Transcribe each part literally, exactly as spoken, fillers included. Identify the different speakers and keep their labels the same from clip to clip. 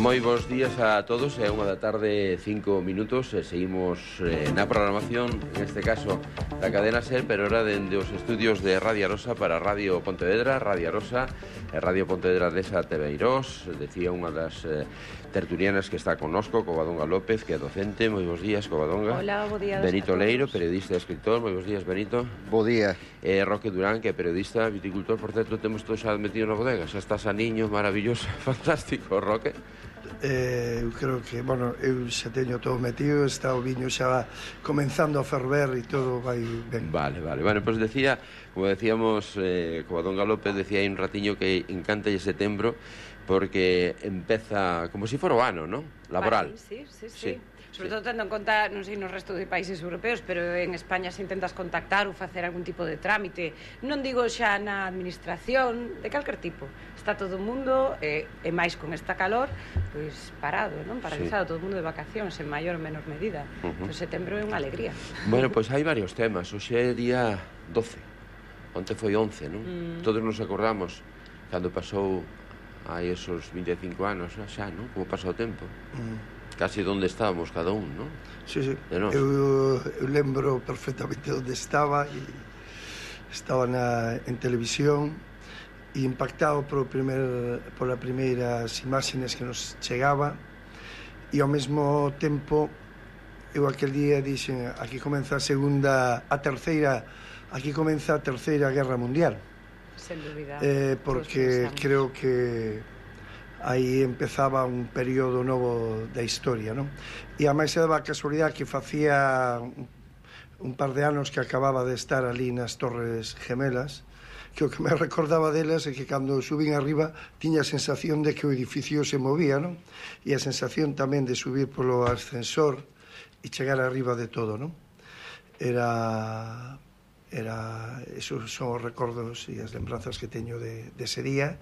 Speaker 1: Moi bons días a todos, é unha da tarde, cinco minutos, e seguimos eh, na programación, neste caso da cadena SER, pero ahora dende os estudios de Radio Arosa para Radio Pontevedra, Radio Arosa e Radio Pontevedra desa Tebeirós, decía unha das eh, tertulianas que está connosco, Covadonga López, que é docente. Moi bons días, Covadonga.
Speaker 2: Hola, bo día.
Speaker 1: Benito Leiro, periodista e escritor. Moi bons días, Benito.
Speaker 3: Bo día.
Speaker 1: E Roque Durán, que é periodista, viticultor. Por certo, temos todo xa metido na bodega, xa estás a niño, maravilloso, fantástico, Roque.
Speaker 4: Eh, eu creo que, bueno, eu xa teño todo metido, está o viño xa comenzando a ferver e todo vai ben.
Speaker 1: Vale, vale. Bueno, pois pues decía, como decíamos, eh, Covadonga López decía aí un ratiño que encanta lle setembro porque empeza como se si fora o ano, non? Laboral.
Speaker 2: Vale, sí, sí, sí.
Speaker 1: sí.
Speaker 2: Sobre
Speaker 1: sí.
Speaker 2: todo tendo en conta, non sei, no resto de países europeos, pero en España se intentas contactar ou facer algún tipo de trámite, non digo xa na administración, de calquer tipo. Está todo o mundo, e, e máis con esta calor, pois parado, non? Paralizado, sí. Todo o mundo de vacacións, en maior ou menor medida. Uh -huh. Entón, setembro é unha alegría.
Speaker 1: Bueno, pois hai varios temas. Hoxe é día doce. Onte foi once, non? Mm. Todos nos acordamos cando pasou hai esos vinte e cinco anos, xa, non? Como pasa o tempo. Mm. Casi onde estábamos cada un, non?
Speaker 4: Sí, sí. Eu, eu lembro perfectamente onde estaba e estaba na, en televisión e impactado por primer, por as primeiras imágenes que nos chegaba e ao mesmo tempo eu aquel día dixen aquí comeza a segunda, a terceira, aquí comeza a terceira guerra mundial.
Speaker 2: Sen dúbida.
Speaker 4: Eh, porque creo que aí empezaba un período novo da historia, non? E a máis se daba a casualidade que facía un par de anos que acababa de estar ali nas Torres Gemelas, que o que me recordaba delas é que cando subín arriba tiña a sensación de que o edificio se movía, non? E a sensación tamén de subir polo ascensor e chegar arriba de todo, non? Era... era esos son os recordos e as lembranzas que teño de, de ese día,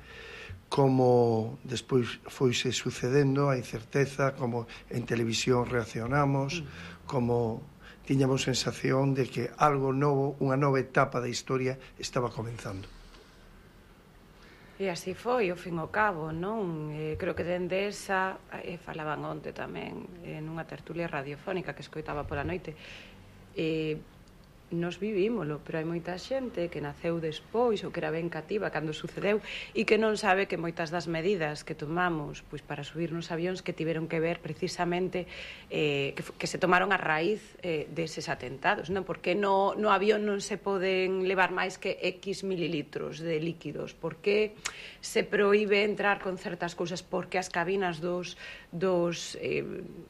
Speaker 4: como despois foise sucedendo a incerteza, como en televisión reaccionamos, mm. como tiñamos sensación de que algo novo, unha nova etapa da historia estaba comenzando.
Speaker 2: E así foi, ao fin ao cabo, non? Eh, creo que dende esa, eh, falaban onte tamén, en unha tertulia radiofónica que escoitaba pola noite, e... Eh, nos vivímolo, pero hai moita xente que naceu despois ou que era ben cativa cando sucedeu e que non sabe que moitas das medidas que tomamos pois para subir nos avións que tiveron que ver precisamente eh, que, que se tomaron a raíz eh, deses atentados, non? Porque no, no avión non se poden levar máis que X mililitros de líquidos, porque se proíbe entrar con certas cousas, porque as cabinas dos, dos, eh,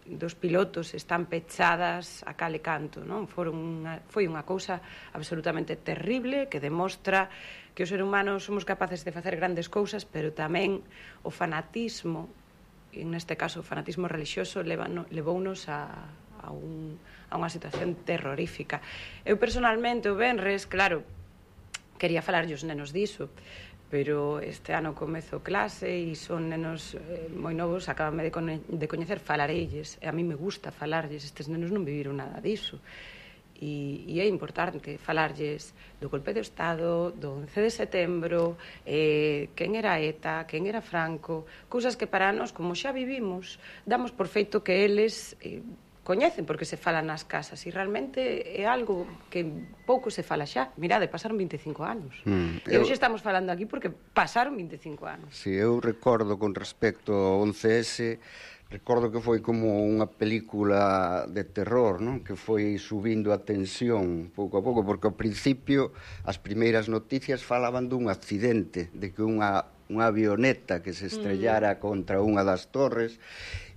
Speaker 2: dos pilotos están pechadas a cal e canto, non? Foron unha, foi unha cousa absolutamente terrible que demostra que os seres humanos somos capaces de facer grandes cousas, pero tamén o fanatismo, e neste caso o fanatismo religioso, levounos a, a, un, a unha situación terrorífica. Eu personalmente o venres, claro, quería falarlle os nenos diso, pero este ano comezo clase e son nenos eh, moi novos, acabanme de, de coñecer, falarelles, e a mí me gusta falarlles, estes nenos non viviron nada diso. E, e é importante falarlles do golpe de Estado, do once de setembro, eh, quen era ETA, quen era Franco, cousas que para nós, como xa vivimos, damos por feito que eles eh, coñecen porque se fala nas casas e realmente é algo que pouco se fala xa. Mirade, pasaron vinte e cinco anos. Mm, e hoxe eu... estamos falando aquí porque pasaron vinte e cinco anos.
Speaker 3: Si, eu recordo con respecto ao once ese, recordo que foi como unha película de terror, non? Que foi subindo a tensión pouco a pouco, porque ao principio as primeiras noticias falaban dun accidente, de que unha, unha avioneta que se estrellara mm. contra unha das torres,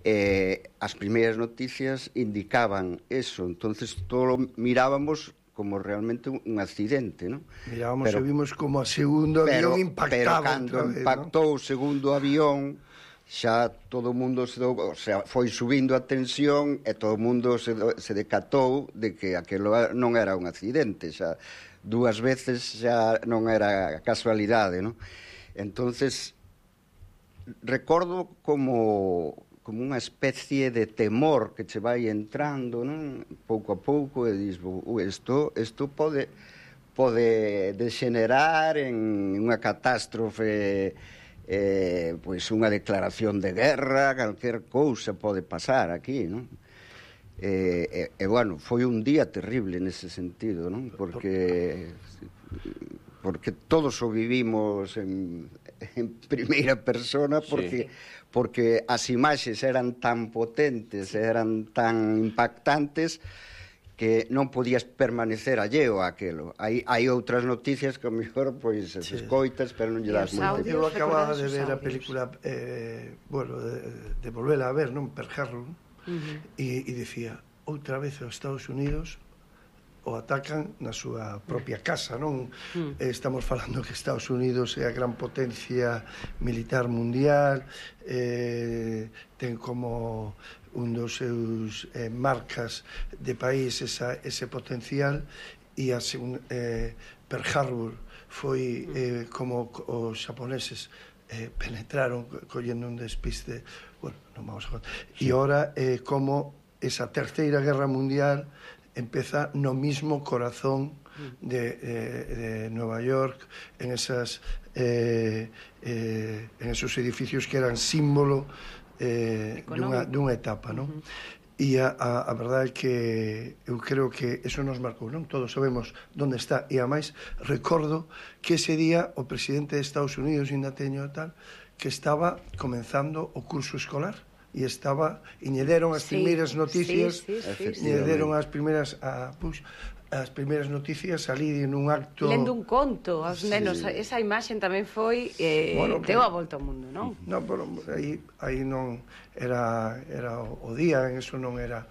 Speaker 3: eh, as primeiras noticias indicaban eso, entonces todo mirábamos como realmente un accidente, non?
Speaker 4: Mirábamos pero, e vimos como a segundo avión pero, impactaba.
Speaker 3: Pero cando
Speaker 4: vez,
Speaker 3: impactou
Speaker 4: ¿no?
Speaker 3: o segundo avión, xa todo o mundo se, do, o sea, foi subindo a tensión e todo o mundo se, se decatou de que aquilo non era un accidente, xa dúas veces xa non era casualidade, non? Entonces recordo como como unha especie de temor que che vai entrando, non? Pouco a pouco e dis, isto isto pode pode degenerar en unha catástrofe eh, pois unha declaración de guerra, calquer cousa pode pasar aquí, non? E, e, e, bueno, foi un día terrible nese sentido, non? Porque porque todos o vivimos en, en primeira persona, porque, sí. porque as imaxes eran tan potentes, eran tan impactantes, que non podías permanecer alleo a aquelo. Hai, hai outras noticias que a mellor pois as sí. escoitas, pero non lle das moito.
Speaker 4: Eu acababa de ver a película, eh, bueno, de, de volvela a ver, non? Pearl Harbor, uh-huh. e, e dicía, outra vez os Estados Unidos o atacan na súa propia casa, non? Mm. Estamos falando que Estados Unidos é a gran potencia militar mundial, eh, ten como un dos seus eh, marcas de país esa, ese potencial, e a segun, eh, Pearl Harbor foi eh, como os xaponeses eh, penetraron collendo un despiste, bueno, non vamos a contar, e ora eh, como esa terceira guerra mundial empeza no mismo corazón de, de, de Nueva York, en esas eh, eh, en esos edificios que eran símbolo eh, dunha, dunha etapa, non? Uh-huh. E a, a, a verdade é que eu creo que eso nos marcou, non? Todos sabemos onde está, e ademais recordo que ese día o presidente de Estados Unidos, ainda teño tal, que estaba comenzando o curso escolar, e estaba, e lle deron as sí, primeiras noticias, sí, sí, sí, lle deron as primeiras a, pues, as primeiras noticias ali nun acto...
Speaker 2: Lendo un conto aos sí. nenos, esa imaxen tamén foi eh, bueno, deu a volta ao mundo, non?
Speaker 4: Non, pero aí, aí non era, era o día, en eso non era,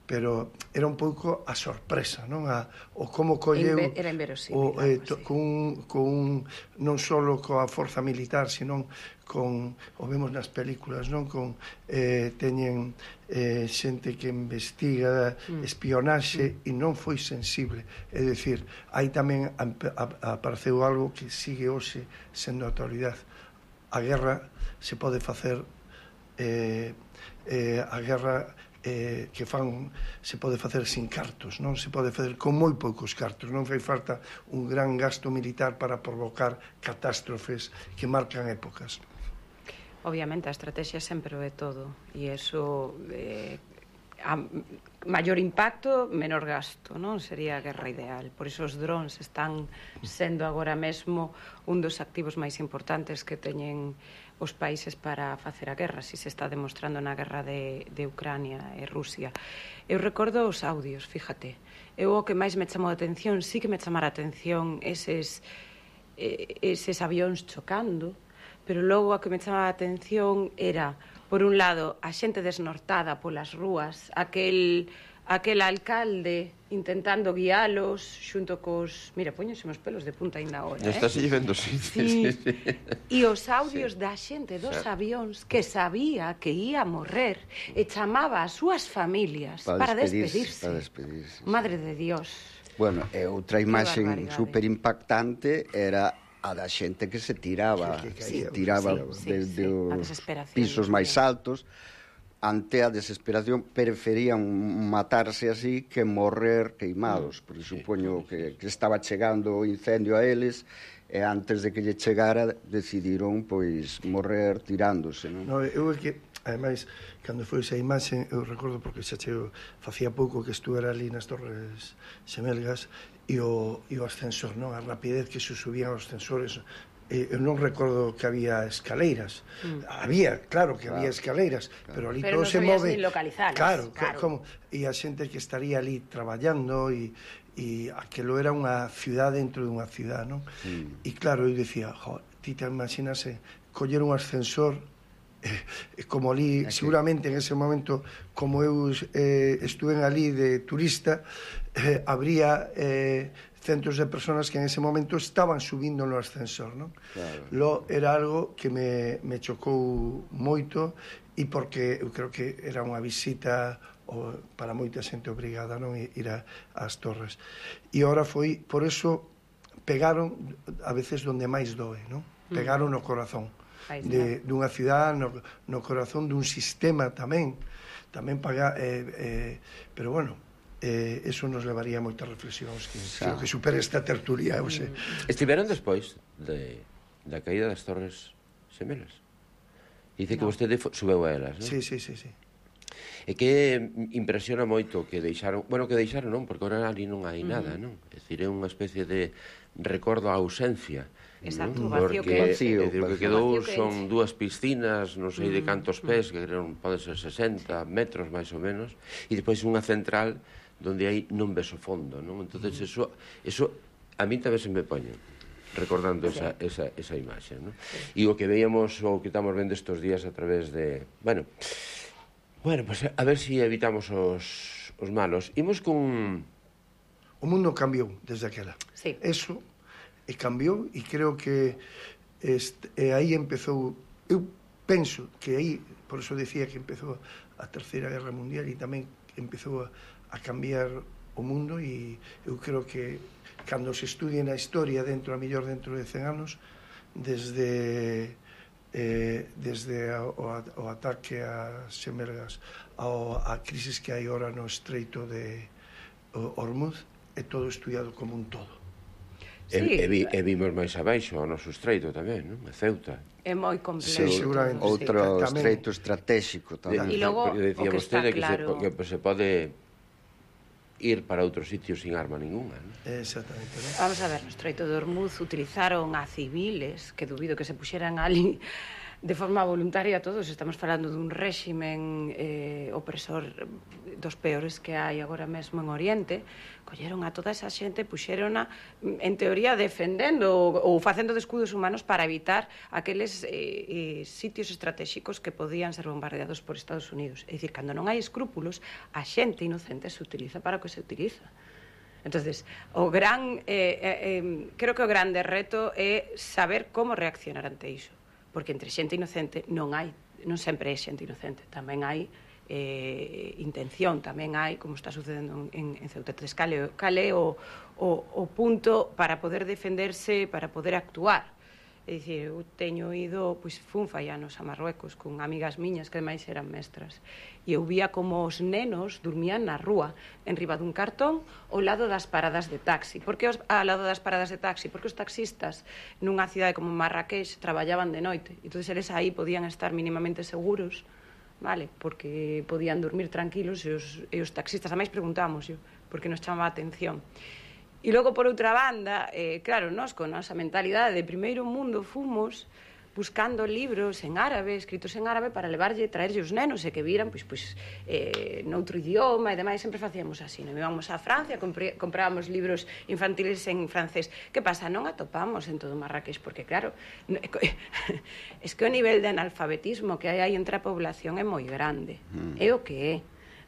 Speaker 4: pero era un pouco a sorpresa, non? A, o como colleu...
Speaker 2: Inve, era inverosímil.
Speaker 4: O, eh, to, sí. con, con, non só coa forza militar, sino con, o vemos nas películas, non? Con, eh, teñen eh, xente que investiga mm. espionaxe mm. e non foi sensible. É dicir, aí tamén apareceu algo que sigue hoxe sendo a actualidade. A guerra se pode facer eh, eh, a guerra eh, que fan se pode facer sin cartos, non? Se pode facer con moi poucos cartos, non fai falta un gran gasto militar para provocar catástrofes que marcan épocas.
Speaker 2: Obviamente a estrategia sempre o é todo, e iso eh, a maior impacto, menor gasto, non? Sería a guerra ideal. Por iso os drones están sendo agora mesmo un dos activos máis importantes que teñen os países para facer a guerra, si se está demostrando na guerra de, de Ucrania e Rusia. Eu recordo os audios, fíjate. Eu o que máis me chamou a atención, sí que me chamara a atención eses, eh, eses avións chocando, pero logo a que me chamaba a atención era, por un lado, a xente desnortada polas rúas, aquel... aquel alcalde intentando guialos xunto cos... Mira, poñense os pelos de punta ainda ahora, eh?
Speaker 1: Estás vendo, sí, sí, sí, sí.
Speaker 2: E os audios sí. da xente dos sí. avións que sabía que ia morrer e chamaba as súas familias para, para despedirse.
Speaker 3: Para despedirse.
Speaker 2: Madre de Dios.
Speaker 3: Bueno, e outra imaxe super impactante era a da xente que se tiraba, sí, que caía, se tiraba sí, desde sí, sí. os pisos máis altos. Ante a desesperación preferían matarse así que morrer queimados, porque supoño que, que estaba chegando o incendio a eles e antes de que lle chegara decidiron pois morrer tirándose, non?
Speaker 4: No, eu é que, ademais, cando foi esa imaxe, eu recordo porque xa chego, facía pouco que estuve ali nas Torres Xemelgas e o, e o ascensor, non? A rapidez que se subían os ascensores. Eu non recordo que había escaleiras. Mm. Había, claro que claro. había escaleiras, claro. pero ali
Speaker 2: pero
Speaker 4: todo
Speaker 2: no
Speaker 4: se move.
Speaker 2: Claro,
Speaker 4: claro. Como, e a xente que estaría ali traballando e, e aquelo era unha cidade dentro dunha cidade, non? Mm. E claro, eu dicía, jo, ti te imagínase coller un ascensor eh, como ali, aquí. Seguramente en ese momento, como eu eh, estuve ali de turista, eh, habría... Eh, centos de personas que en ese momento estaban subindo no ascensor, non? Claro. Lo era algo que me, me chocou moito e porque eu creo que era unha visita o, para moita xente obrigada, non? Ir a, ás torres. E agora foi, por eso pegaron a veces donde máis doe, non? Pegaron no corazón de, dunha cidade, no, no corazón dun sistema tamén, tamén paga, eh, eh, pero bueno, eh, eso nos levaría a moitas reflexións que, creo que supera esta tertulia. O sea.
Speaker 1: Estiveron despois de, da caída das torres xemelas. Dice que vostede subeu a elas, non?
Speaker 4: Sí, sí, sí, sí.
Speaker 1: E que impresiona moito que deixaron, bueno, que deixaron non, porque ahora ali non hai nada, non? É dicir, é unha especie de recordo a ausencia.
Speaker 2: Exacto,
Speaker 1: ¿no?
Speaker 2: o vacío
Speaker 1: Porque,
Speaker 2: que
Speaker 3: vacío,
Speaker 1: é dicir, o que
Speaker 3: vacío.
Speaker 1: quedou
Speaker 2: O vacío que
Speaker 1: son
Speaker 2: enche.
Speaker 1: dúas piscinas, non sei de cantos pés, que creo poden ser sesenta metros máis ou menos, e depois unha central donde aí non ves o fondo, non? Entonces eso, eso a mí tamén se me poño recordando
Speaker 2: Sí.
Speaker 1: esa, esa, esa imaxe, non? Sí. E o que veíamos, o que estamos vendo estes días a través de, bueno, bueno, pues a ver si evitamos os, os malos. Imos con...
Speaker 4: O mundo cambiou desde aquela.
Speaker 2: Sí.
Speaker 4: Eso e cambiou e creo que este, e aí empezou, eu penso que aí, por eso decía que empezou a Terceira Guerra Mundial e tamén empezou a, a cambiar o mundo e eu creo que cando se estudie na historia dentro, a mellor dentro de cen anos, desde eh, desde a, o, o ataque a Xemelgas ao, a crisis que hai ora no estreito de Hormuz, é todo estudiado como un todo.
Speaker 1: E,
Speaker 2: Sí.
Speaker 1: e, vi, e vimos máis abaixo o noso estreito tamén, non? A Ceuta.
Speaker 2: É moi completo.
Speaker 4: Sí, seguramente.
Speaker 3: Outro
Speaker 4: Sí, tamén.
Speaker 3: estreito estratégico tamén.
Speaker 2: E logo,
Speaker 1: Porque decía
Speaker 2: o que está
Speaker 1: vostede que,
Speaker 2: claro-
Speaker 1: se, que se pode ir para outros sitios sin arma ninguna, non?
Speaker 4: Exactamente, ¿no?
Speaker 2: Vamos a ver, no Estreito de Hormuz utilizaron a civiles, que dubido que se puxeran ali de forma voluntaria todos. Estamos falando dun réximen eh, opresor dos peores que hai agora mesmo en Oriente. Colleron a toda esa xente, puxerona, en teoría, defendendo ou, ou facendo de escudos humanos para evitar aqueles eh, eh, sitios estratégicos que podían ser bombardeados por Estados Unidos. É dicir, cando non hai escrúpulos, a xente inocente se utiliza para o que se utiliza. Entonces, o gran, eh, eh, creo que o grande reto é saber como reaccionar ante iso, porque entre xente inocente non hai, non sempre é xente inocente, tamén hai eh, intención, tamén hai, como está sucedendo en, en Ceuta. Entonces, cale, cale o, o, o punto para poder defenderse, para poder actuar. É dicir, eu teño ido, pois, fun fai anos a Marruecos con amigas miñas que ademais eran mestras, e eu vía como os nenos dormían na rúa, en riba dun cartón, ao lado das paradas de taxi. Por que os, ao lado das paradas de taxi? Porque os taxistas nunha cidade como Marrakech traballaban de noite, entón eles aí podían estar mínimamente seguros, vale, porque podían dormir tranquilos, e os, e os taxistas, a máis preguntamos yo, porque nos chamaba a atención. E logo, por outra banda, eh, claro, nós con nosa mentalidade de primeiro mundo fomos buscando libros en árabe, escritos en árabe, para levarlle, traerlle os nenos e que viran, pois, pois, eh, noutro idioma e demais. Sempre facíamos así, non? Íbamos a Francia, compre, comprábamos libros infantiles en francés. Que pasa? Non atopamos en todo Marrakech, porque, claro, es que o nivel de analfabetismo que hai aí entre a población é moi grande. Mm. É o que é.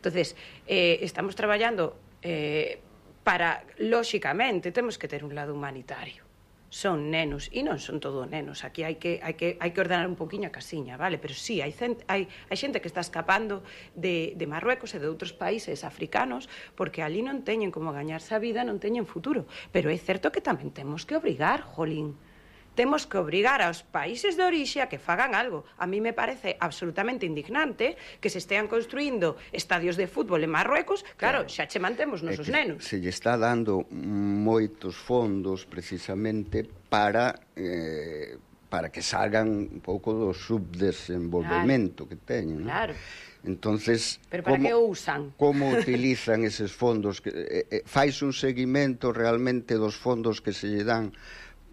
Speaker 2: Entonces, eh, estamos traballando... Eh, para, lóxicamente, temos que ter un lado humanitario. Son nenos, e non son todo nenos. Aquí hai que, hai que, hai que ordenar un poquinho a casiña, vale? Pero sí, hai, cent, hai, hai xente que está escapando de, de Marruecos e de outros países africanos porque ali non teñen como gañarse a vida, non teñen futuro. Pero é certo que tamén temos que obrigar, jolín. Temos que obrigar aos países de orixe a que fagan algo. A mí me parece absolutamente indignante que se estean construindo estadios de fútbol en Marruecos. Claro, claro, xa che mantemos nosos nenos.
Speaker 3: Se lle está dando moitos fondos precisamente para eh, para que salgan un pouco do subdesenvolvemento, claro, que teñen, ¿no?
Speaker 2: Claro.
Speaker 3: Entonces,
Speaker 2: pero para
Speaker 3: como,
Speaker 2: que o usan?
Speaker 3: Como utilizan eses fondos? Que, eh, eh, fais un seguimento realmente dos fondos que se lle dan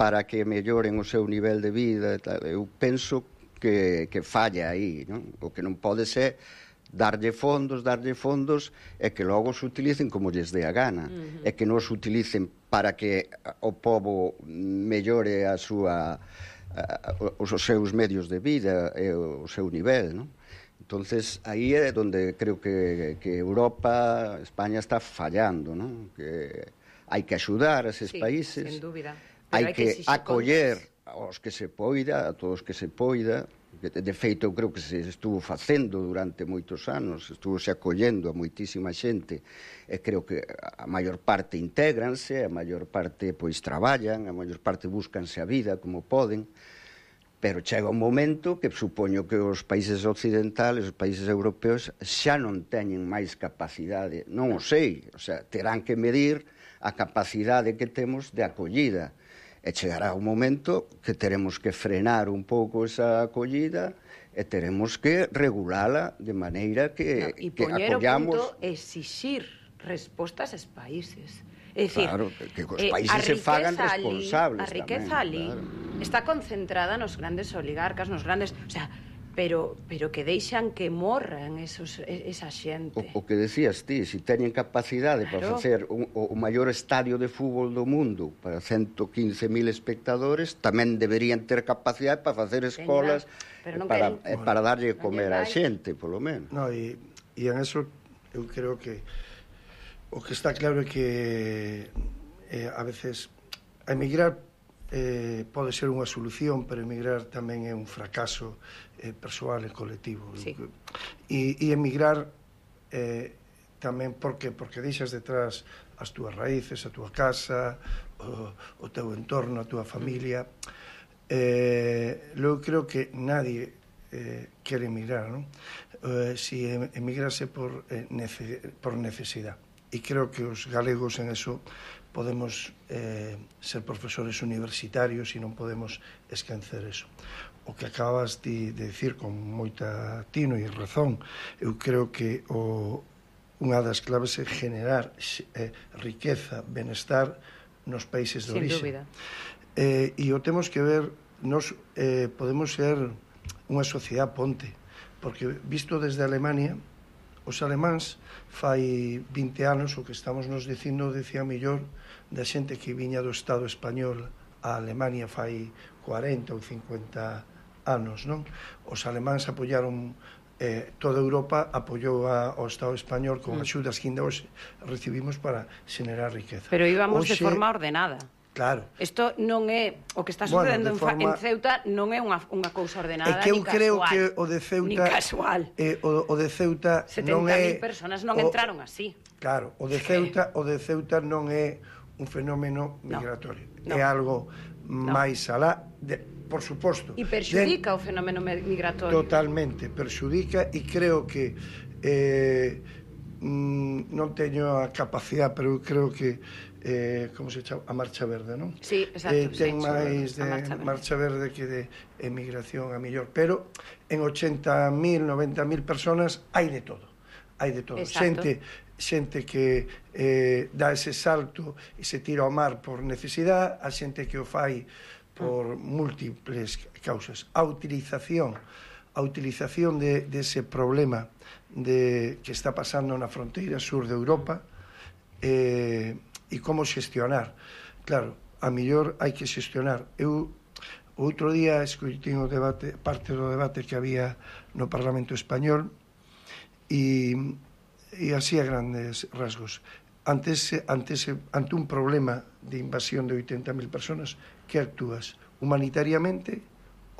Speaker 3: para que melloren o seu nivel de vida e tal. Eu penso que, que falla aí, non? O que non pode ser darlle fondos, darlle fondos e que logo se utilicen como lles dé a gana, uh-huh. e que non se utilicen para que o pobo mellore a súa a, os seus medios de vida e o seu nivel, non? Entonces, aí é onde creo que, que Europa, España está fallando, non? Que hai que axudar a eses
Speaker 2: sí,
Speaker 3: países.
Speaker 2: Sin dúbida.
Speaker 3: Hai que, que acoller aos que se poida, a todos que se poida. De feito, eu creo que se estuvo facendo durante moitos anos, estuvo se acollendo a moitísima xente, e creo que a maior parte intégranse, a maior parte pois traballan, a maior parte búscanse a vida como poden, pero chega un momento que supoño que os países occidentales, os países europeos, xa non teñen máis capacidade, non o sei, o sea, terán que medir a capacidade que temos de acollida. E chegará un momento que teremos que frenar un pouco esa acollida e teremos que regulala de maneira que,
Speaker 2: no,
Speaker 3: que acollamos...
Speaker 2: E poñer o punto exixir respostas aos países. É dicir,
Speaker 3: claro, que os
Speaker 2: eh,
Speaker 3: países se fagan responsables
Speaker 2: ali, a riqueza
Speaker 3: tamén,
Speaker 2: ali
Speaker 3: claro.
Speaker 2: está concentrada nos grandes oligarcas, nos grandes... O sea, pero pero que deixan que morran esos, esa xente.
Speaker 3: O, o que decías ti, se si teñen capacidade claro. para facer un, o, o maior estadio de fútbol do mundo para ciento quince mil espectadores, tamén deberían ter capacidade para facer escolas
Speaker 2: Teña,
Speaker 3: para,
Speaker 2: queren,
Speaker 3: eh, para darlle
Speaker 2: no
Speaker 3: comer á xente, polo menos.
Speaker 4: No, e, e en eso eu creo que o que está claro é que eh, a veces a emigrar eh, pode ser unha solución, pero emigrar tamén é un fracaso eh, persoal e colectivo.
Speaker 2: Sí.
Speaker 4: E, e emigrar eh, tamén porque porque deixas detrás as túas raíces, a túa casa, o, o teu entorno, a túa familia. Eh, eu creo que nadie eh, quere emigrar, non? Eh, si emigrase por, eh, nece, por necesidade. E creo que os galegos en eso podemos eh, ser profesores universitarios e non podemos esquecer eso. O que acabas de, de decir con moita tino e razón, eu creo que o, unha das claves é generar eh, riqueza, benestar nos países de orixe.
Speaker 2: Sin dúbida.
Speaker 4: Eh, e o temos que ver, nos eh, podemos ser unha sociedade ponte, porque visto desde Alemania, os alemáns fai vinte anos o que estamos nos dicindo decía mellor da xente que viña do Estado español a Alemania fai cuarenta ou cincuenta anos, non? Os alemáns apoyaron eh, toda Europa apoiou a, ao Estado español con axudas que ainda hoxe recibimos para xenerar riqueza.
Speaker 2: Pero íbamos
Speaker 4: Oxe,
Speaker 2: de forma ordenada.
Speaker 4: Claro.
Speaker 2: Isto non é o que está sucedendo bueno, forma... en Ceuta non é unha, unha cousa ordenada
Speaker 4: é que eu
Speaker 2: ni
Speaker 4: creo
Speaker 2: casual.
Speaker 4: que o de Ceuta
Speaker 2: ni casual.
Speaker 4: Eh, o, o de Ceuta non é
Speaker 2: setenta mil personas non
Speaker 4: o,
Speaker 2: entraron así.
Speaker 4: Claro, o de Ceuta, o de Ceuta non é un fenómeno migratorio. No, no. É algo no. máis alá de, por suposto.
Speaker 2: E perxudica de, o fenómeno migratorio.
Speaker 4: Totalmente, perxudica e creo que eh, mm, non teño a capacidade, pero eu creo que eh, como se chama? A Marcha Verde, non?
Speaker 2: Sí, exacto.
Speaker 4: Eh, ten
Speaker 2: sí,
Speaker 4: máis de Marcha Verde. Marcha Verde que de emigración a millor, pero en ochenta mil, noventa mil personas hai de todo. Hai de todo.
Speaker 2: Exacto.
Speaker 4: Xente, xente que eh, dá ese salto e se tira ao mar por necesidade, a xente que o fai por mm. múltiples causas. A utilización, a utilización de, de ese problema de, que está pasando na fronteira sur de Europa, eh, e como xestionar. Claro, a mellor hai que xestionar. Eu, outro día, escoitín o debate, parte do debate que había no Parlamento Español, e, e así a grandes rasgos. Ante, ese, ante, ese, ante un problema de invasión de oitenta mil personas, que actúas? Humanitariamente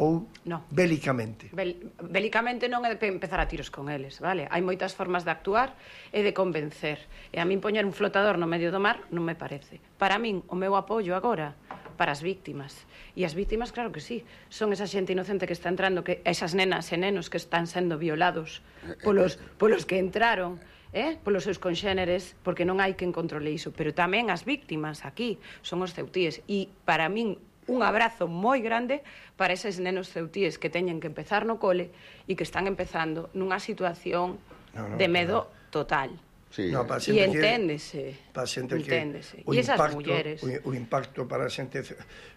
Speaker 4: ou
Speaker 2: no.
Speaker 4: bélicamente?
Speaker 2: Bel, bélicamente non é de empezar a tiros con eles, vale? Hai moitas formas de actuar e de convencer. E a min poñer un flotador no medio do mar non me parece. Para min, o meu apoio agora para as víctimas. E as víctimas, claro que sí, son esa xente inocente que está entrando, que esas nenas e nenos que están sendo violados polos, polos que entraron, eh? polos seus conxéneres, porque non hai quen controle iso. Pero tamén as víctimas aquí son os ceutíes. E para min, un abrazo moi grande para eses nenos ceutíes que teñen que empezar no cole e que están empezando nunha situación no, no, de medo no. total.
Speaker 3: Sí.
Speaker 4: No,
Speaker 2: e enténdese.
Speaker 4: Para xente que
Speaker 2: enténdese. E esas
Speaker 4: impacto,
Speaker 2: mulleres.
Speaker 4: O, o impacto para a xente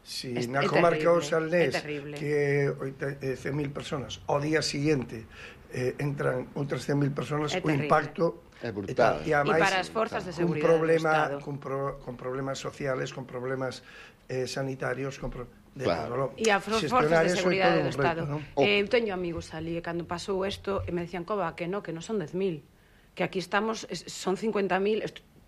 Speaker 4: si
Speaker 2: es,
Speaker 4: na
Speaker 2: é
Speaker 4: comarca
Speaker 2: terrible,
Speaker 4: o Salnés que cen mil personas ao día siguiente eh, entran outras cen mil personas, o impacto
Speaker 3: é brutal.
Speaker 4: E,
Speaker 2: e para as forzas de seguridade
Speaker 4: problema,
Speaker 2: do Estado.
Speaker 4: Con, pro, con problemas sociales, con problemas eh, sanitarios, con pro, de
Speaker 3: claro.
Speaker 4: todo,
Speaker 2: e as forzas de seguridade do Estado.
Speaker 4: ¿no?
Speaker 2: Eh, eu teño amigos ali, e cando pasou isto, e me decían, Coba, que no, que non son dez mil, que aquí estamos, son cincuenta mil,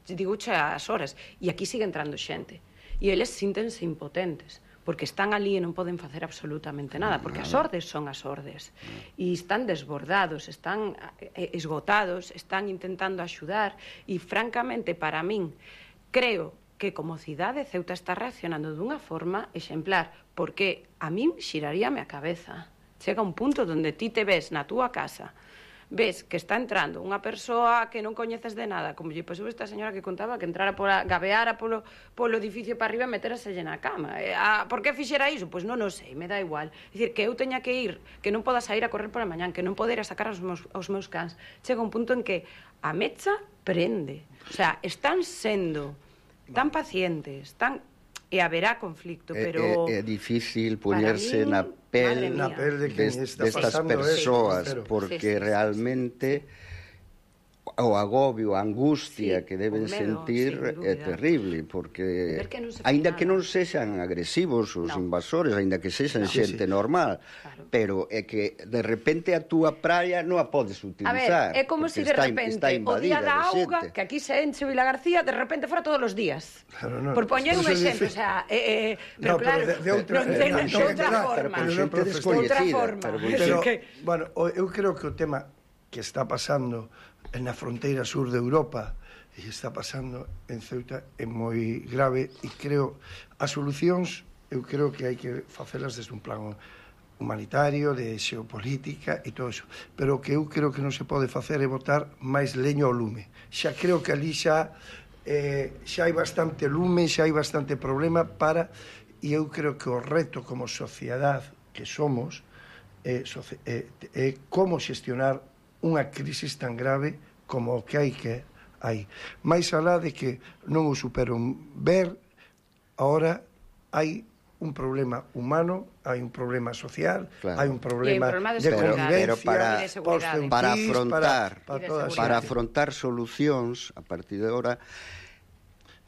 Speaker 2: digo che as horas, e aquí sigue entrando xente. E eles síntense impotentes, porque están ali e non poden facer absolutamente nada, porque as ordes son as ordes, e están desbordados, están esgotados, están intentando axudar, e francamente, para min, creo que como cidade Ceuta está reaccionando dunha forma exemplar, porque a min xiraríame a cabeza. Chega un punto onde ti te ves na túa casa, ves que está entrando unha persoa que non coñeces de nada, como lle pasou esta señora que contaba que entrara pola, gabeara polo, polo edificio para arriba e meteraselle na cama. E, a, por que fixera iso? Pois non o sei, me dá igual. É dicir, que eu teña que ir, que non poda sair a correr pola mañán, que non poder a sacar aos meus, aos meus cans. Chega un punto en que a mecha prende. O sea, están sendo tan pacientes, tan... e haberá conflicto, pero...
Speaker 3: É, é, é difícil poñerse
Speaker 2: mí,
Speaker 3: na pel,
Speaker 4: na pel de quen está
Speaker 3: destas
Speaker 4: pasando
Speaker 3: persoas,
Speaker 4: eso,
Speaker 3: porque
Speaker 2: sí, sí, sí,
Speaker 3: realmente o agobio, a angustia
Speaker 2: sí,
Speaker 3: que deben
Speaker 2: o medo,
Speaker 3: sentir
Speaker 2: sí,
Speaker 3: é terrible, porque
Speaker 2: que non se
Speaker 3: aínda
Speaker 2: nada.
Speaker 3: que non sexan agresivos os
Speaker 2: no.
Speaker 3: invasores, aínda que sexan
Speaker 2: no.
Speaker 3: xente
Speaker 4: sí, sí.
Speaker 3: normal,
Speaker 2: claro.
Speaker 3: pero é que de repente a túa praia non a podes utilizar.
Speaker 2: A ver, é como se si de
Speaker 3: está,
Speaker 2: repente
Speaker 3: está
Speaker 2: o día da auga,
Speaker 3: xente.
Speaker 2: que aquí se enche Vila García, de repente fora todos os días.
Speaker 4: Claro, no,
Speaker 2: por poñer un exemplo,
Speaker 4: dice...
Speaker 2: o sea, eh, eh, pero
Speaker 4: no,
Speaker 2: claro,
Speaker 4: pero de, de outra,
Speaker 2: non ten
Speaker 4: eh,
Speaker 2: de
Speaker 4: no,
Speaker 2: outra
Speaker 4: no,
Speaker 2: forma.
Speaker 3: Pero con xente
Speaker 4: pero,
Speaker 3: descoñecida.
Speaker 2: outra forma.
Speaker 3: Pero,
Speaker 4: Pero,
Speaker 2: que...
Speaker 4: bueno, eu creo que o tema que está pasando na fronteira sur de Europa e está pasando en Ceuta é moi grave e creo as solucións eu creo que hai que facelas desde un plano humanitario, de xeopolítica e todo iso, pero o que eu creo que non se pode facer é botar máis leño ao lume. Xa creo que ali xa eh, xa hai bastante lume, xa hai bastante problema para, e eu creo que o reto como sociedade que somos é, é, é como xestionar unha crisis tan grave como o que hai que hai. Mais alá de que non o superon ver, ahora hai un problema humano, hai un problema social,
Speaker 3: claro.
Speaker 4: hai un problema,
Speaker 2: problema de
Speaker 4: de
Speaker 3: pero,
Speaker 4: convivencia,
Speaker 3: pero para,
Speaker 2: seguridade.
Speaker 3: para afrontar
Speaker 4: para, para, toda
Speaker 3: para afrontar solucións a partir de ahora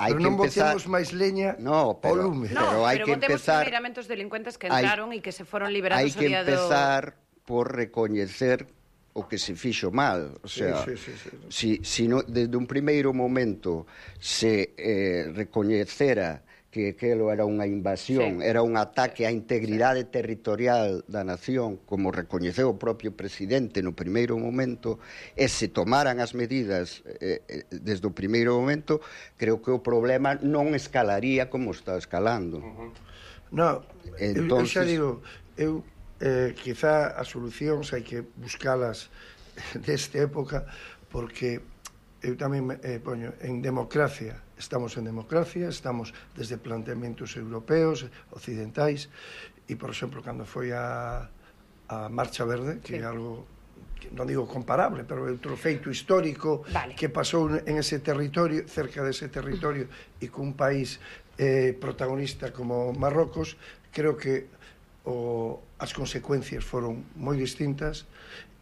Speaker 3: hai
Speaker 4: pero
Speaker 3: que
Speaker 4: non
Speaker 3: empezar
Speaker 4: botemos máis leña
Speaker 3: no, pero,
Speaker 4: ao lume.
Speaker 2: No,
Speaker 3: pero hai
Speaker 2: pero
Speaker 3: que
Speaker 2: botemos
Speaker 3: empezar
Speaker 2: primeiramente os delincuentes que
Speaker 3: hai,
Speaker 2: entraron e que se foron liberados
Speaker 3: hai que
Speaker 2: o día do...
Speaker 3: empezar por recoñecer o que se fixo mal, o sea,
Speaker 4: sí, sí, sí, sí.
Speaker 3: si, si no, desde un primeiro momento se eh, recoñecera que aquelo era unha invasión,
Speaker 2: sí.
Speaker 3: era un ataque á integridade sí. territorial da nación, como recoñeceu o propio presidente no primeiro momento, e se tomaran as medidas eh, desde o primeiro momento, creo que o problema non escalaría como está escalando.
Speaker 4: Uh-huh. No,
Speaker 3: Entonces...
Speaker 4: eu, eu xa digo, eu eh, quizá as solucións hai que buscalas desta época, porque eu tamén eh, poño en democracia, estamos en democracia, estamos desde planteamentos europeos, occidentais, e, por exemplo, cando foi a, a Marcha Verde, que sí. é algo, que non digo comparable, pero é outro feito histórico
Speaker 2: vale.
Speaker 4: que pasou en ese territorio, cerca dese territorio, e cun país eh, protagonista como Marrocos, creo que o, as consecuencias foron moi distintas,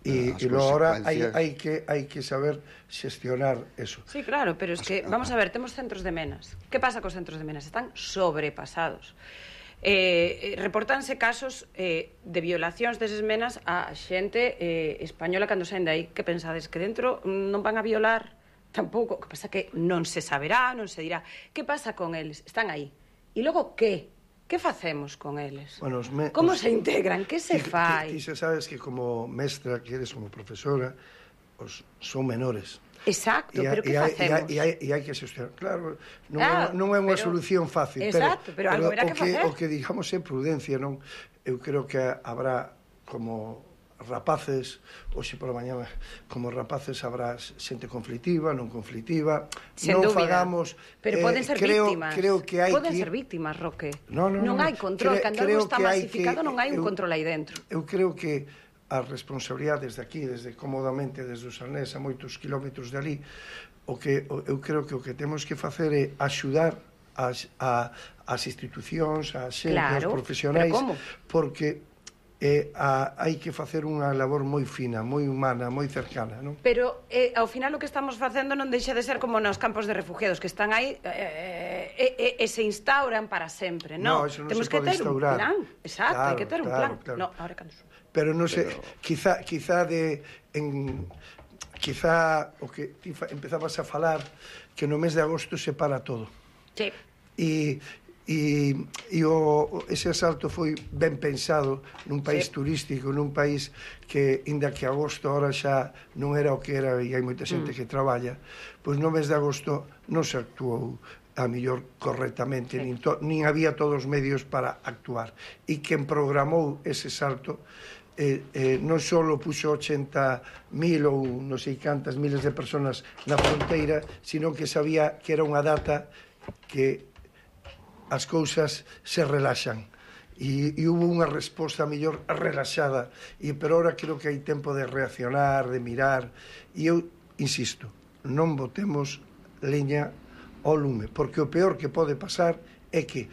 Speaker 4: e, e logo ahora hai, hai, que, hai que saber xestionar eso.
Speaker 2: Sí, claro, pero es que, vamos a ver, temos centros de menas. Que pasa cos centros de menas? Están sobrepasados. Eh, reportanse casos eh, de violacións deses menas a xente eh, española cando saen de aí. Que pensades? Que dentro non van a violar? Tampouco. Que pasa que non se saberá, non se dirá. Que pasa con eles? Están aí. E logo, que? Que facemos con eles?
Speaker 4: Bueno, me,
Speaker 2: Como
Speaker 4: os,
Speaker 2: se integran? Que se
Speaker 4: ti,
Speaker 2: fai?
Speaker 4: Ti, ti se sabes que como mestra, que eres como profesora, os son menores.
Speaker 2: Exacto,
Speaker 4: e,
Speaker 2: pero que
Speaker 4: e hai,
Speaker 2: facemos?
Speaker 4: E hai, e hai que xestionar. Claro, non,
Speaker 2: ah,
Speaker 4: é, non é unha
Speaker 2: pero,
Speaker 4: solución fácil.
Speaker 2: Exacto, pero, pero algo
Speaker 4: pero
Speaker 2: habrá que,
Speaker 4: que
Speaker 2: facer.
Speaker 4: O que digamos é prudencia, non? Eu creo que habrá como rapaces, hoxe pola mañá, como rapaces habrá xente conflictiva, non conflictiva,
Speaker 2: Sen
Speaker 4: non
Speaker 2: dúbida.
Speaker 4: fagamos...
Speaker 2: Pero
Speaker 4: eh,
Speaker 2: poden ser
Speaker 4: creo,
Speaker 2: víctimas.
Speaker 4: Creo que hai
Speaker 2: poden
Speaker 4: que...
Speaker 2: ser víctimas, Roque.
Speaker 4: No, no,
Speaker 2: non
Speaker 4: no,
Speaker 2: hai control,
Speaker 4: cre,
Speaker 2: cando algo está masificado
Speaker 4: que,
Speaker 2: non hai un
Speaker 4: eu,
Speaker 2: control aí dentro.
Speaker 4: Eu creo que as responsabilidades desde aquí, desde cómodamente, desde o Sarnés a moitos kilómetros de ali, o que eu creo que o que temos que facer é axudar as, a, as institucións, as xente,
Speaker 2: claro,
Speaker 4: os profesionais,
Speaker 2: pero como?
Speaker 4: Porque eh, a, hai que facer unha labor moi fina, moi humana, moi cercana, non?
Speaker 2: Pero eh, ao final o que estamos facendo non deixa de ser como nos campos de refugiados que están aí eh, eh, eh, e se instauran para sempre, non?
Speaker 4: No, eso non
Speaker 2: Temos
Speaker 4: se
Speaker 2: que
Speaker 4: pode
Speaker 2: ter
Speaker 4: instaurar.
Speaker 2: un plan, exacto,
Speaker 4: claro,
Speaker 2: hai que ter un
Speaker 4: claro,
Speaker 2: plan.
Speaker 4: Claro.
Speaker 2: No, ahora cando
Speaker 4: Pero non sei,
Speaker 3: Pero...
Speaker 4: quizá, quizá de en, quizá o que ti fa, empezabas a falar que no mes de agosto se para todo.
Speaker 2: Sí.
Speaker 4: E e, e o, ese asalto foi ben pensado nun país
Speaker 2: sí.
Speaker 4: turístico, nun país que, inda que agosto ahora xa non era o que era e hai moita xente mm. que traballa, pois no mes de agosto non se actuou a mellor correctamente, sí. nin, to, nin había todos os medios para actuar. E quen programou ese salto eh, eh, non só puxo ochenta mil ou non sei cantas miles de personas na fronteira, sino que sabía que era unha data que as cousas se relaxan. E, e hubo unha resposta mellor relaxada, e pero ahora creo que hai tempo de reaccionar, de mirar, e eu insisto, non botemos leña ao lume, porque o peor que pode pasar é que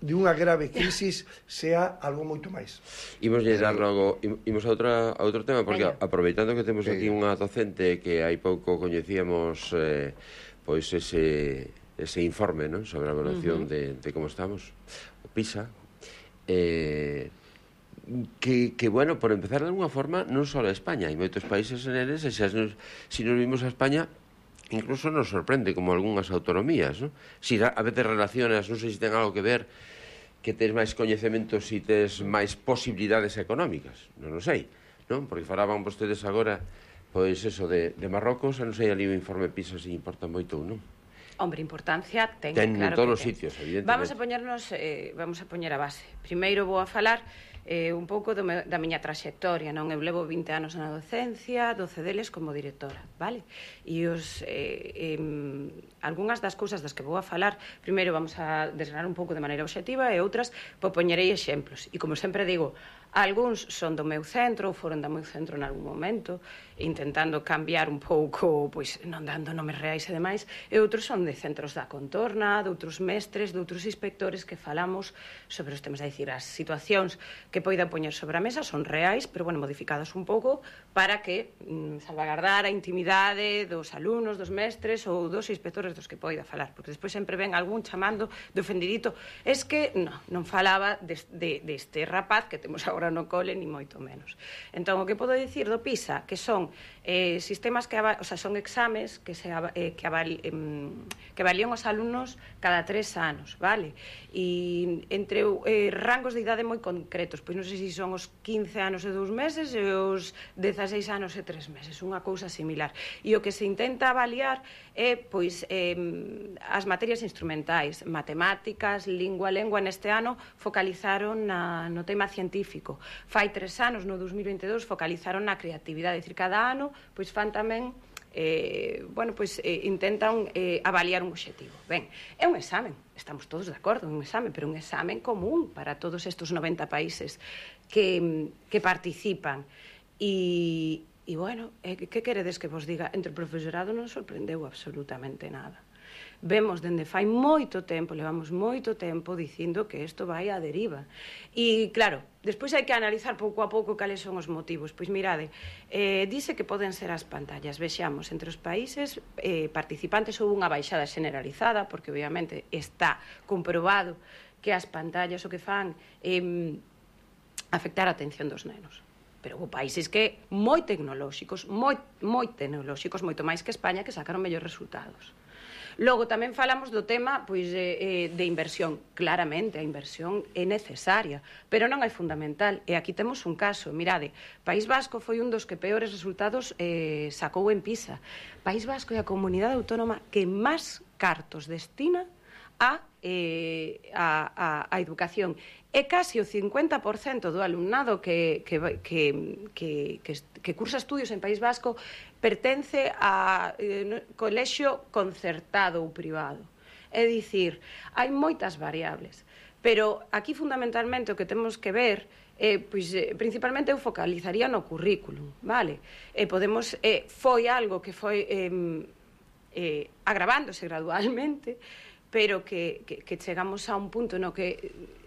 Speaker 4: de unha grave crisis sea algo moito máis.
Speaker 1: Imos llegar logo, imos a, outra, a outro tema, porque Venga. aproveitando que temos aquí unha docente que hai pouco coñecíamos eh, pois ese, ese informe, ¿no?, sobre a evaluación uh -huh. de, de como estamos, o PISA, eh, que, que, bueno, por empezar de alguna forma, non só a España, hai moitos países en eles, e xa nos, si nos vimos a España, incluso nos sorprende como algunhas autonomías, ¿no? Si a veces relacionas, non sei se ten algo que ver, que tes máis coñecementos e tes máis posibilidades económicas, non o sei, non? Porque falaban vostedes agora, pois eso, de, de Marrocos, non sei ali o informe PISA se importa moito ou non.
Speaker 2: Hombre, importancia ten,
Speaker 1: ten
Speaker 2: claro
Speaker 1: en todos os
Speaker 2: ten.
Speaker 1: sitios, evidentemente.
Speaker 2: Vamos a poñernos, eh, vamos a poñer a base. Primeiro vou a falar eh, un pouco do me, da miña traxectoria, non? Eu levo vinte anos na docencia, doce deles como directora, vale? E os, eh, eh, algunhas das cousas das que vou a falar, primeiro vamos a desgranar un pouco de maneira obxectiva e outras, pois poñerei exemplos. E como sempre digo, algúns son do meu centro ou foron do meu centro en algún momento, intentando cambiar un pouco, pois non dando nomes reais e demais, e outros son de centros da contorna, de outros mestres, de outros inspectores que falamos sobre os temas, é dicir, as situacións que poida poñer sobre a mesa son reais, pero, bueno, modificadas un pouco para que mm, salvagardar a intimidade dos alumnos, dos mestres ou dos inspectores dos que poida falar, porque despois sempre ven algún chamando de ofendidito, es que non, non falaba deste de, de rapaz que temos agora no cole, ni moito menos. Entón, o que podo dicir do PISA, que son eh, sistemas que, o sea, son exames que se eh, que, avali, eh, que avalían os alumnos cada tres anos, vale? E entre eh, rangos de idade moi concretos, pois non sei se son os quince anos e dous meses e os dezaseis anos e tres meses, unha cousa similar. E o que se intenta avaliar é, pois, eh, as materias instrumentais, matemáticas, lingua, lengua, neste ano focalizaron na, no tema científico. Fai tres anos, no dos mil veinte e dous, focalizaron na creatividade, é dicir, cada ano, pois fan tamén eh, bueno, pois eh, intentan eh, avaliar un obxectivo. Ben, é un examen, estamos todos de acordo, un examen, pero un examen común para todos estes noventa países que, que participan. E, e bueno, eh, que queredes que vos diga? Entre o profesorado non sorprendeu absolutamente nada. Vemos dende fai moito tempo, levamos moito tempo dicindo que isto vai á deriva. E, claro, despois hai que analizar pouco a pouco cales son os motivos. Pois mirade, eh, dice que poden ser as pantallas. Vexamos, entre os países eh, participantes houve unha baixada generalizada, porque obviamente está comprobado que as pantallas o que fan é eh, afectar a atención dos nenos. Pero houve países que moi tecnolóxicos, moi, moi tecnolóxicos, moito máis que España, que sacaron mellores resultados. Logo, tamén falamos do tema pois, de, de inversión. Claramente, a inversión é necesaria, pero non é fundamental. E aquí temos un caso. Mirade, País Vasco foi un dos que peores resultados eh, sacou en PISA. País Vasco é a comunidade autónoma que máis cartos destina a, eh, a, a, a educación. É casi o cincuenta por cento do alumnado que, que, que, que, que, que cursa estudios en País Vasco pertence a eh, colexio concertado ou privado. É dicir, hai moitas variables, pero aquí fundamentalmente o que temos que ver eh, pois, eh, principalmente eu focalizaría no currículum, vale? Eh, podemos, eh, foi algo que foi eh, eh, agravándose gradualmente, pero que, que, que chegamos a un punto no que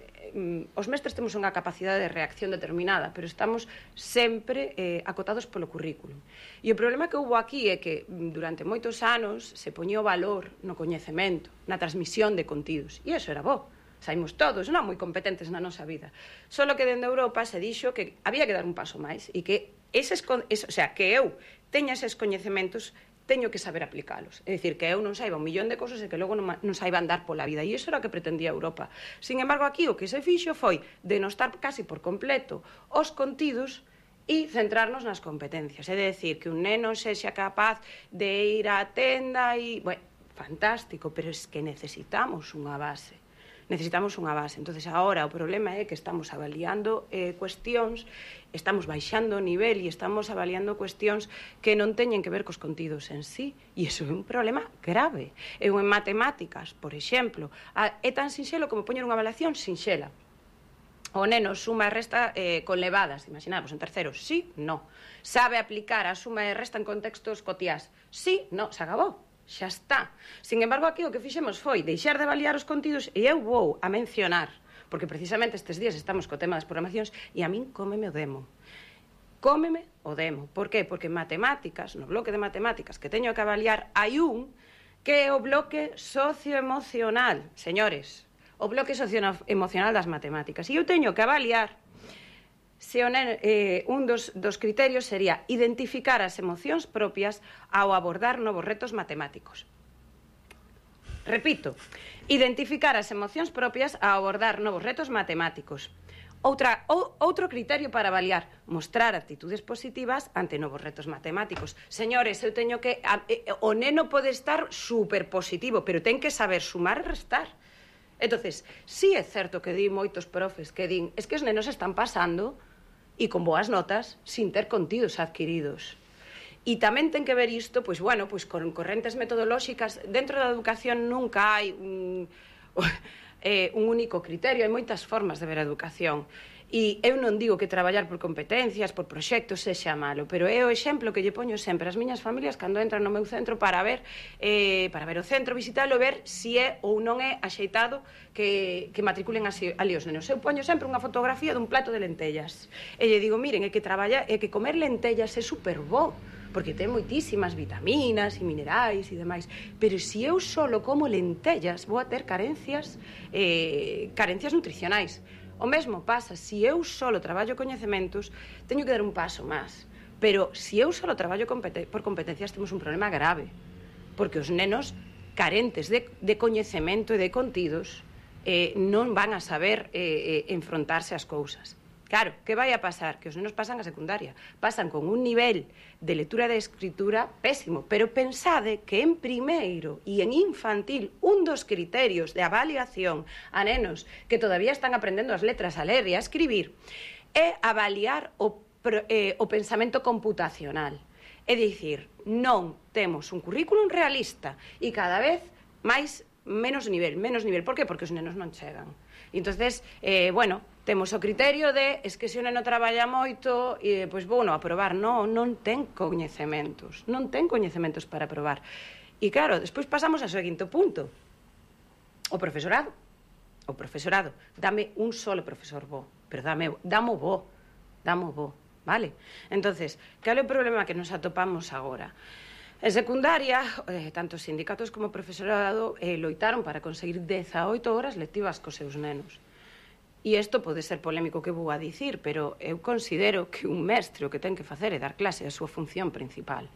Speaker 2: os mestres temos unha capacidade de reacción determinada, pero estamos sempre eh, acotados polo currículum. E o problema que houve aquí é que durante moitos anos se poñía o valor no coñecemento, na transmisión de contidos, e iso era bo. Saímos todos, non moi competentes na nosa vida. Solo que dende Europa se dixo que había que dar un paso máis e que eses, es, o sea, que eu teña eses coñecementos, teño que saber aplicalos. É dicir, que eu non saiba un millón de cosas e que logo non, non saiba andar pola vida. E iso era o que pretendía Europa. Sin embargo, aquí o que se fixo foi denostar casi por completo os contidos e centrarnos nas competencias. É dicir, que un neno sexa capaz de ir á tenda e... Bueno, fantástico, pero é que necesitamos unha base. necesitamos unha base. Entonces, agora o problema é que estamos avaliando eh, cuestións, estamos baixando o nivel e estamos avaliando cuestións que non teñen que ver cos contidos en sí, e iso é un problema grave. Eu en matemáticas, por exemplo, a, é tan sinxelo como poñer unha avaliación sinxela. O neno suma e resta eh, con levadas, imaginamos, en tercero, sí, no. Sabe aplicar a suma e resta en contextos cotiás, sí, no, se acabou, xa está. Sin embargo, aquí o que fixemos foi deixar de avaliar os contidos e eu vou a mencionar, porque precisamente estes días estamos co tema das programacións e a min cómeme o demo. Cómeme o demo. Por qué? Porque en matemáticas, no bloque de matemáticas que teño que avaliar, hai un que é o bloque socioemocional, señores. O bloque socioemocional das matemáticas. E eu teño que avaliar se o neno, eh, un dos, dos criterios sería identificar as emocións propias ao abordar novos retos matemáticos. Repito, identificar as emocións propias ao abordar novos retos matemáticos. Outra, ou, outro criterio para avaliar, mostrar actitudes positivas ante novos retos matemáticos. Señores, eu teño que... A, eh, o neno pode estar super positivo, pero ten que saber sumar e restar. Entonces, sí é certo que di moitos profes que din es que os nenos están pasando e con boas notas sin ter contidos adquiridos. E tamén ten que ver isto, pois, bueno, pois, con correntes metodolóxicas. Dentro da educación nunca hai un, eh, un único criterio, hai moitas formas de ver a educación. E eu non digo que traballar por competencias, por proxectos, sexa malo, pero é o exemplo que lle poño sempre ás miñas familias cando entran no meu centro para ver eh, para ver o centro, visitalo, ver se é ou non é axeitado que, que matriculen así, ali os nenos. Eu poño sempre unha fotografía dun plato de lentellas e lle digo, miren, é que traballar, é que comer lentellas é super bo, porque ten moitísimas vitaminas e minerais e demais, pero se eu solo como lentellas vou a ter carencias eh, carencias nutricionais. O mesmo pasa, se eu solo traballo coñecementos, teño que dar un paso máis. Pero se eu solo traballo competen por competencias, temos un problema grave. Porque os nenos carentes de, de coñecemento e de contidos eh, non van a saber eh, eh, enfrontarse ás cousas. Claro, que vai a pasar? Que os nenos pasan a secundaria. Pasan con un nivel de lectura e de escritura pésimo. Pero pensade que en primeiro e en infantil un dos criterios de avaliación a nenos que todavía están aprendendo as letras a ler e a escribir é avaliar o, eh, o pensamento computacional. É dicir, non temos un currículum realista e cada vez máis menos nivel, menos nivel. Por que? Porque os nenos non chegan. E entonces, eh, bueno, temos o criterio de es que se o neno traballa moito e pois vou non aprobar. Non, non ten coñecementos, non ten coñecementos para aprobar. E claro, despois pasamos ao seguinte punto. O profesorado. O profesorado. Dame un solo profesor bo, pero dame, damo bo, damo bo, vale? Entonces, cal é o problema que nos atopamos agora? En secundaria, eh, tanto os sindicatos como o profesorado eh, loitaron para conseguir dezaoito horas lectivas cos seus nenos. E isto pode ser polémico que vou a dicir, pero eu considero que un mestre o que ten que facer é dar clase a súa función principal.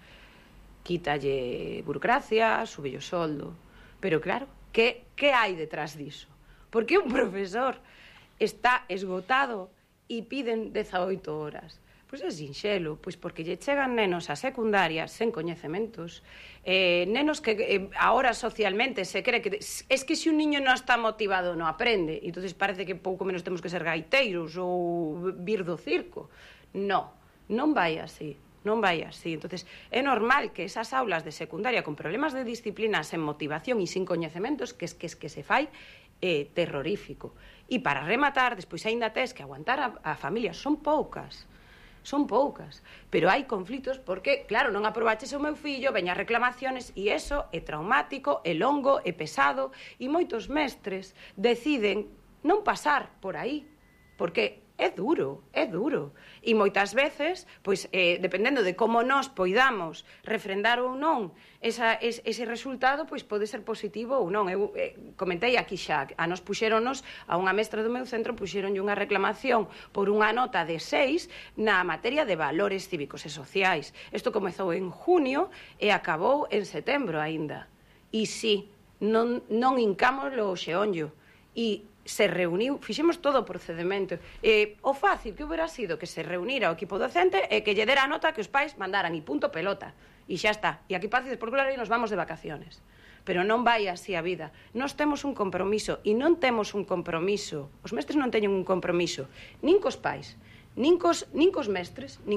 Speaker 2: Quítalle burocracia, súbelle o soldo. Pero claro, que, que hai detrás diso? Por que un profesor está esgotado e piden dezaoito horas? Pois é sinxelo, pois porque lle chegan nenos a secundaria sen coñecementos, eh, nenos que eh, ahora socialmente se cree que es que se un niño non está motivado non aprende, e entonces parece que pouco menos temos que ser gaiteiros ou vir do circo. Non, non vai así, non vai así. Entonces é normal que esas aulas de secundaria con problemas de disciplina, sen motivación e sin coñecementos, que es que, es que se fai eh, terrorífico. E para rematar, despois aínda tes que aguantar a, a familia, son poucas. Son poucas, pero hai conflitos porque, claro, non aprobaches o meu fillo, veña reclamaciones e eso é traumático, é longo, é pesado e moitos mestres deciden non pasar por aí, porque é duro, é duro. E moitas veces, pois, eh, dependendo de como nós poidamos refrendar ou non esa, es, ese resultado, pois pode ser positivo ou non. Eu eh, comentei aquí xa, a nos puxéronos, a unha mestra do meu centro, puxéronlle unha reclamación por unha nota de seis na materia de valores cívicos e sociais. Isto comezou en junio e acabou en setembro aínda. E sí, non, non hincamos o xeonllo. E se reuniu, fixemos todo o procedimento. Eh, o fácil que hubiera sido que se reunira o equipo docente e que lle dera a nota que os pais mandaran e punto pelota. E xa está. E aquí pacides por claro e nos vamos de vacaciones. pero non vai así a vida. Nós temos un compromiso, e non temos un compromiso, os mestres non teñen un compromiso, nin cos pais, nin cos, nin cos mestres, nin cos